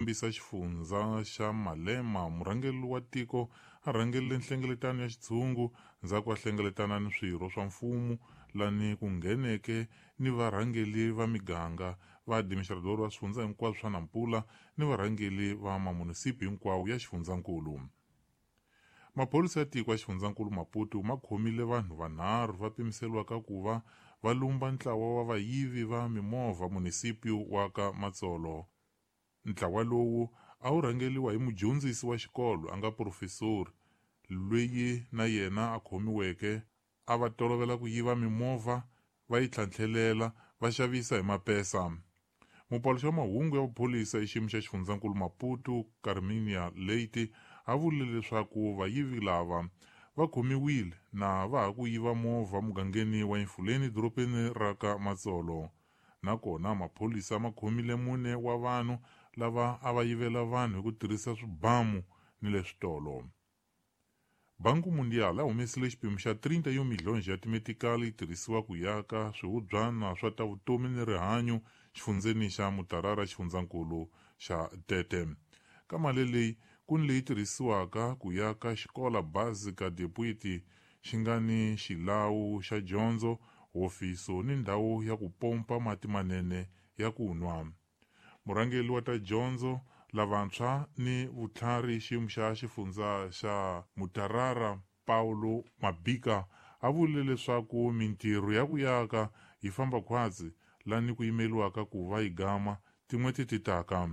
Kombisa xifundza xa Malema, murhangeri wa tiko a rhangerile nhlengeletano ya xitshungu ndzhaku a hlengeletana ni swirho swa mfumo lani ku ngheneke ni varhangeli va miganga, va administrador va swifundza hinkwaswo swa Nampula ni varhangeli va mamunisipi hinkwawo ya xifundzankulu. Maphorisa ya tiko ya xifundzankulu Maputo ma khomile vanhu vanharhu va pimiseriwaka ku va va lumba ntlawa wa vayivi va mimovha munisipi wa ka Matsolo. Ntlawa lowu a wu rhangeriwa hi mudyondzisi wa xikolo a nga profesori loyi na yena a khomiweke a va tolovela ku yiva mimovha va yi tlhantlhelela va xavisa hi mapesa. Mupaluxi wa mahungu ya vuphorisa exiyimo xa xifundzankulu Maputo Carminia Leite a vurile leswaku vayivi lava va khomiwile na va ha ku yiva movha mugangeni wa Emfuleni dorobeni ra ka Matsolo. Nakona maphorisa ma khomile mune wa vanhu lava a va yivela vanhu hi ku tirhisa swibamu ni le switolo. Banco Mundial a humesile xipimo xa 30 milhonji ya timetikali yi tirhisiwa ku yaka swihubyana swa ta vutomi ni rihanyo xifundzeni xa Mutarara xifundzankulu xa Tete. Ka mali leyi ku ni leyi tirhisiwaka ku yaka xikola Básica de Puiti xi nga ni xilawu xa dyondzo, hofiso ni ndhawu ya ku pompa mati manene ya ku nwa. Murhangeri wa ta dyondzo lavantshwa ni vutlhari xiyimo xa xifundza xa Mutarara Paulo Mabika a vurile leswaku mintirho ya ku yaka yi famba khwatsi lani ku yimeriwaka ku va yi gama tin'hweti ti taka.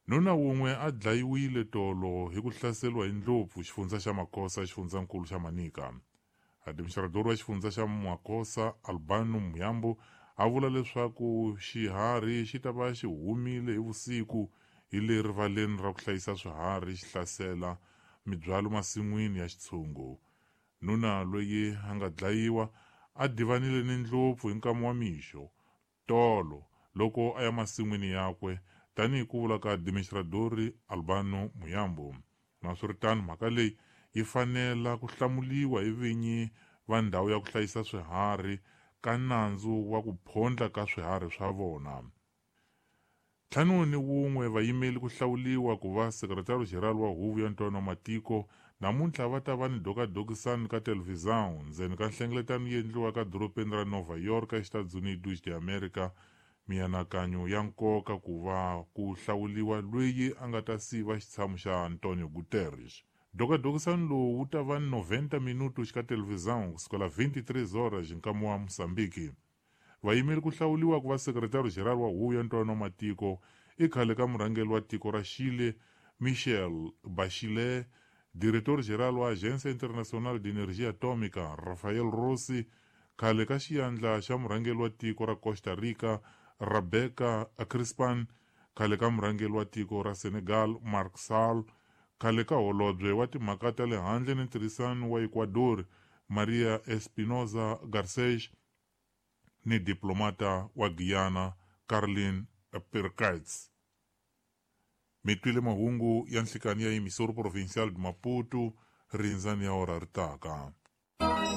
Nuna wun'we a dlayiwile tolo hi ku hlaseriwa hi ndlopfu xifundza xa Makosa xifundzankulu xa Manica. Administrador wa xifundza xa Makosa Albano Muyambo a vula leswaku xiharhi xi ta va xi humile hi vusiku hi le rivaleni ra ku hlayisa swiharhi xi hlasela mibyalo masin'wini ya xitshungu. Nuna loyi a nga dlayiwa a divanile ni ndlopfu hi nkama wa mixo tolo loko a ya masin'wini yakwe tanihi ku vula ka administradori Albano Muyambo. Naswiritano mhaka leyi yi fanela ku hlamuliwa hi vinyi va ndhawu ya ku hlayisa swiharhi ka nandzu wa ku phondla ka swiharhi swa vona. 51 vayimeli ku hlawuliwa ku va sekretari general wa huvo ya ntwanano wa matiko namuntlha va ta va ni dokadokisani ka televhizão ndzeni ka nhlengeletano yi endliwaka dorobeni ra Nova York eStados Unidos de America. Mianakanyo ya nkoka ku va ku hlawuliwa loyi a nga ta siva xitshamo xa Antonio Guterres. Dokadokisani lowu wu ta va ni 90 minuto xika televhizão kusukela 23 horas nkama wa Mozambique. Vayimeri ku hlawuliwa ku va sekretari general wa huvo ya ntwanano wa matiko i khale ka murhangeri wa tiko ra Chile Michelle Bachelet, diretor general wa Agência Internacional de Energia Atômica Rafael Rossi, khale ka xiyandla xa murhangeri wa tiko ra Costa Rica Rebecca Crispan, khale ka murhangeri wa tiko ra Senegal Macky Sall, khale ka holobye wa timhaka ta le handle ni ntirhisano wa Ecuador Maria Espinoza Garces ni diplomata wa Guyana Caroline Perkins. Mi twile mahungu ya nhlikani ya emisoro provincial de Maputo rindzani ya ora ri taka.